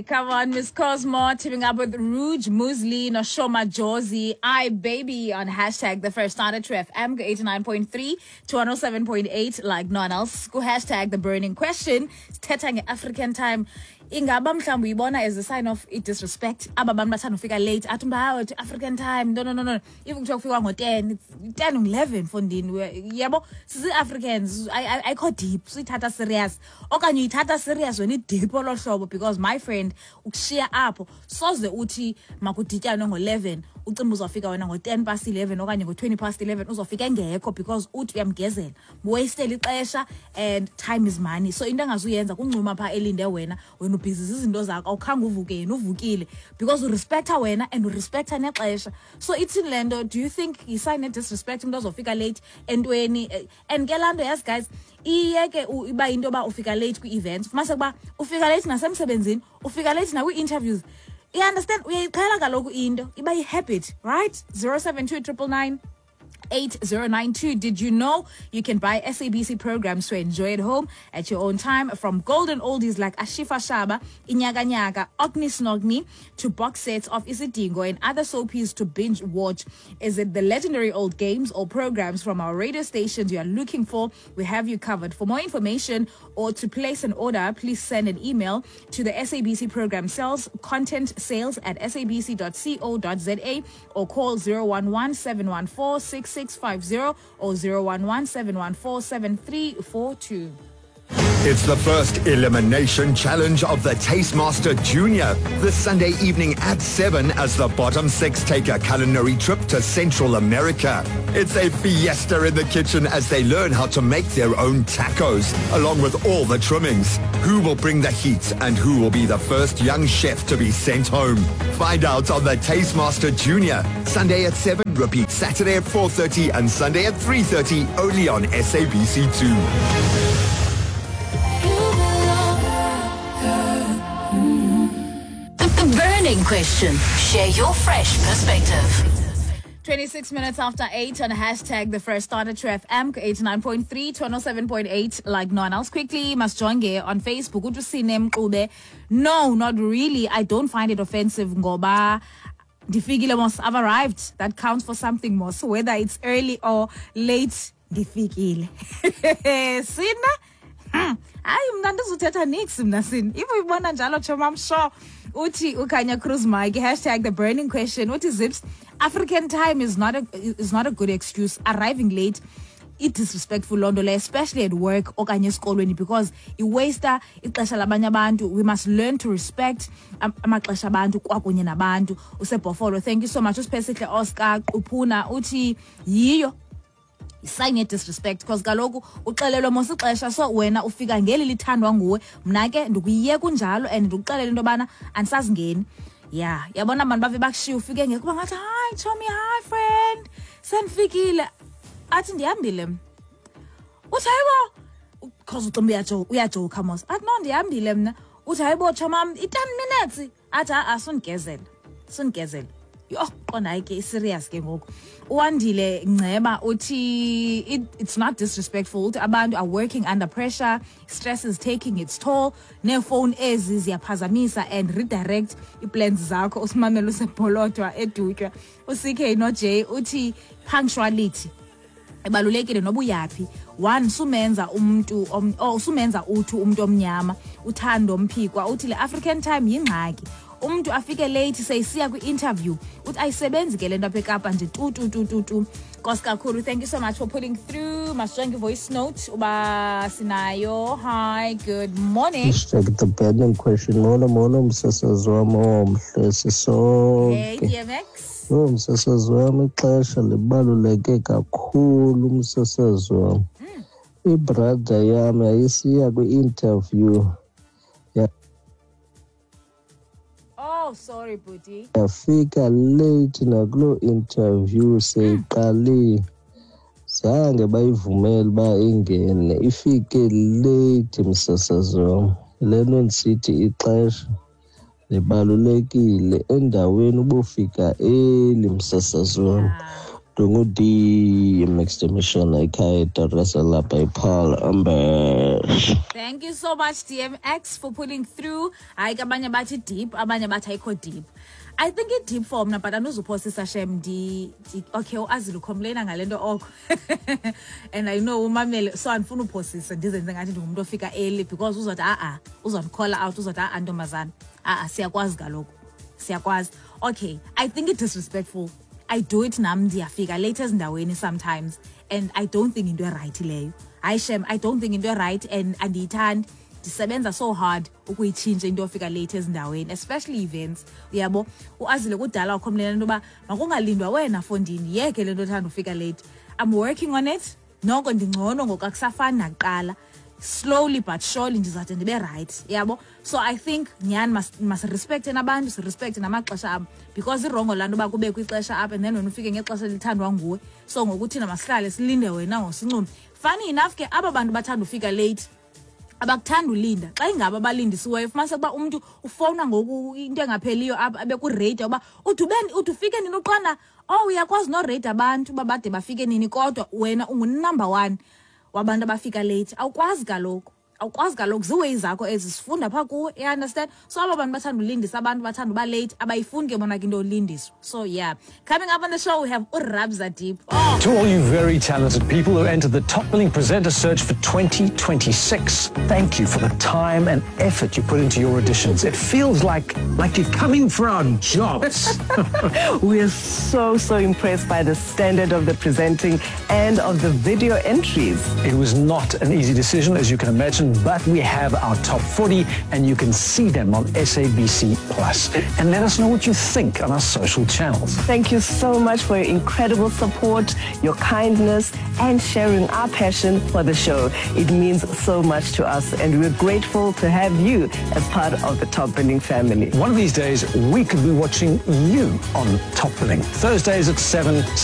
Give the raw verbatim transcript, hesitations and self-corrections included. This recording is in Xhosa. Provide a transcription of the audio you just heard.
Come on, Miss Cosmo, teaming up with Rouge Musli, Noshoma Jozi, I Baby on hashtag the first starter to F M eighty-nine point three to one oh seven point eight like no one else. Go hashtag the burning question. Sithetha nge-African time. Ingaba mhlawumbi uyibona as a sign of disrespect. Aba bantu bathanda ufika late. Athi umntu, hayi, African time. No, no, no, no. Even kuthiwa kufikwa ngo-ten, it's ten eleven fondini. Yabo, sisi-Africans, ayikho deep, siyithatha serious. Okanye uyithatha serious wena i-deep olo hlobo, because my friend, ukushiya apho, soze uthi makudityanwe ngo-eleven, ucimbi uzofika wena ngo-ten past eleven okanye ngo-twenty past eleven, uzofika engekho because uthi uyamgezela. Wastele ixesha and time is money. So into engazuyenza kuncuma pha elinde wena, wena ubhizi zizinto zakho, awukhange uvuke, yena uvukile because urespecta wena and urespecta nexesha. So ithini le nto? Do you think yi-sign disrespect umuntu ozofika late entweni? And ke laa nto, yes guys, iyeke iba yinto yoba ufika late kwi-events, fumanise ukuba ufika late nasemsebenzini, ufika late nakwi-interviews. You understand? Uyayiqhela kaloku into, iba yi-habit, right? zero seven two triple nine eight zero nine two. Did you know you can buy S A B C programs to enjoy at home at your own time? From golden oldies like Ashifa Shaba, Inyaga Nyaga, Ogni Snogni, to box sets of Isidingo and other soapies to binge watch. Is it the legendary old games or programs from our radio stations you are looking for? We have you covered. For more information or to place an order, please send an email to the S A B C program sales, content sales at S A B C dot co dot Z A or call zero one one, seven one four, six six five zero or zero one one, seven one four, seven three four two. It's the first elimination challenge of the Taste Master Junior this Sunday evening at seven as the bottom six take a culinary trip to Central America. It's a fiesta in the kitchen as they learn how to make their own tacos, along with all the trimmings. Who will bring the heat and who will be the first young chef to be sent home? Find out on the Taste Master Junior, Sunday at seven, repeat Saturday at four thirty and Sunday at three thirty, only on S A B C two. Burning question. Share your fresh perspective. twenty-six minutes after eight on hashtag the first starter to F M eighty-nine point three to one oh seven point eight like no one else. Quickly, masijonge on Facebook. Uthi Mxube, no, not really. I don't find it offensive ngoba ndifikile mos, I've arrived. That counts for something mos, whether it's early or late. Ndifikile. Sina? Hayi mna ndizuthetha nix mna sini. If uyibona njalo choma, I'm sure. Uthi uKhanya Cruz Mike, hashtag the burning question. Uthi Zips, African time is not a is not a good excuse. Arriving late, it disrespectful loo nto leyo, especially at work okanye esikolweni, because iwaster ixesha labanye abantu. We must learn to respect amaxesha abantu kwakunye nabantu. Usebhofolo, thank you so much. Usiphesihle Oscar Quphuna uthi yiyo sign ye disrespect because kaloku uxelelwe mos ixesha, so wena ufika ngeli lithandwa nguwe, mna ke ndikuyeka kunjalo and ndikuxelele into yobana andisazingeni. Yeah, yabona abantu bave bakushiya ufike ngekho uba ngathi hi chomi, hi friend, sendifikile, athi ndihambile mna. Uthi hayibo, because ucimba uyajoka mos, athi no ndihambile mna. Uthi hayibo chomam, i-ten minutes, athi ha-a sundigezela, sundigezela. Yho, qonda hayi ke i-serious ke ngoku. Uwandile Nceba uthi it, it's not disrespectful. Uthi abantu are working under pressure, stress is taking its toll, neefowuni ezi ziyaphazamisa and redirect ii-plans zakho. Usimamela usebholodwa edutywa. U-C K no-J uthi punctuality ibalulekile noba uyaphi. One, sumenza umntu oh sumenza uthi umntu omnyama. Uthando Mphikwa uthi le African time yingxaki. Umntu afike late seyisiya kwi-interview, uthi ayisebenzi ke le nto apha eKapa nje tu tu tu tu tu. Nkosi kakhulu, thank you so much for pulling through. Masijonge voice note uba sinayo. Hi, good morning. Hashtag the burning question. Molo molo msasazi wam omhle, sisonke. Hey D M X. Yho msasazi wam, ixesha libaluleke kakhulu msasazi wam. Ibrother yam yayisiya kwi-interview. Oh, sorry, Bhuti. Yafika late nakuloo interview seyiqalile. Zange bayivumele uba ingene. Ifike late msasazi wam. Le nto ndisithi ixesha libalulekile endaweni ubufika early msasazi wam. Ndingu-D M X Mission ekhaya eDar lapha ePaul Amber. Thank you so much, D M X, for pulling through. Hayi ke, abanye bathi deep, abanye bathi ayikho deep. I think it deep for mna, but andizuphosisa shem. Ndi ndi- okay, uAzile ucomplaina ngale nto oko and I know umamele, so andifuna uphosisa ndizenze ngathi ndingumntu ofika early, because uzothi a-a, uzondicalla out, uzothi a-a ntombazana, a-a, siyakwazi kaloku, siyakwazi. Okay, I think it disrespectful. I do it nam, ndiyafika late ezindaweni sometimes and I don't think into eright leyo. Hayi shem, I don't think into eright and andiyithandi. Ndisebenza so hard ukuyitshintsha into yofika late ezindaweni, especially events, uyabo. Uazile kudala wacomplaina into yoba makungalindwa wena fondini, yeke le nto othanda ufika late. I'm working on it noko, ndingcono ngoku, akusafani nakuqala. Slowly but surely ndizawude ndibe right, yabo. So I think nyhani masirespecte nabantu, sirespecte namaxesha abo, because iwrong laa nto uba kubekho ixesha apha and then wena ufike ngexesha elithandwa nguwe. So ngoku thina masihlale silinde wena ngosincume. Funny enough ke, aba bantu bathanda ufika late abakuthanda ulinda. Xa ingaba abalindisiweyo, fumanise ukuba umntu ufowuna ngoku into engapheliyo apha, abe kureyta uba ude ube ude ufike nini uqonda. Oh, uyakwazi noreyta abantu uba bade bafike nini, kodwa wena ungunumber one wabantu abafika late. Awukwazi kaloku, awukwazi kaloku, ziiways zakho ezi, sifunda phaa kuwe, you understand? So aba bantu bathanda ulindisa abantu, bathanda uba late, abayifuni ke bona ke into yolindiswa. So yeah, coming up on the show we have uRabza Deep. Oh. To all you very talented people who entered the Top Billing Presenter Search for twenty twenty-six, thank you for the time and effort you put into your auditions. It feels like, like you're coming for our jobs. We're so, so impressed by the standard of the presenting and of the video entries. It was not an easy decision, as you can imagine, but we have our top forty and you can see them on S A B C Plus. And let us know what you think on our social channels. Thank you so much for your incredible support, your kindness, and sharing our passion for the show. It means so much to us, and we're grateful to have you as part of the Top Billing family. One of these days, we could be watching you on Top Billing. Thursdays at seven.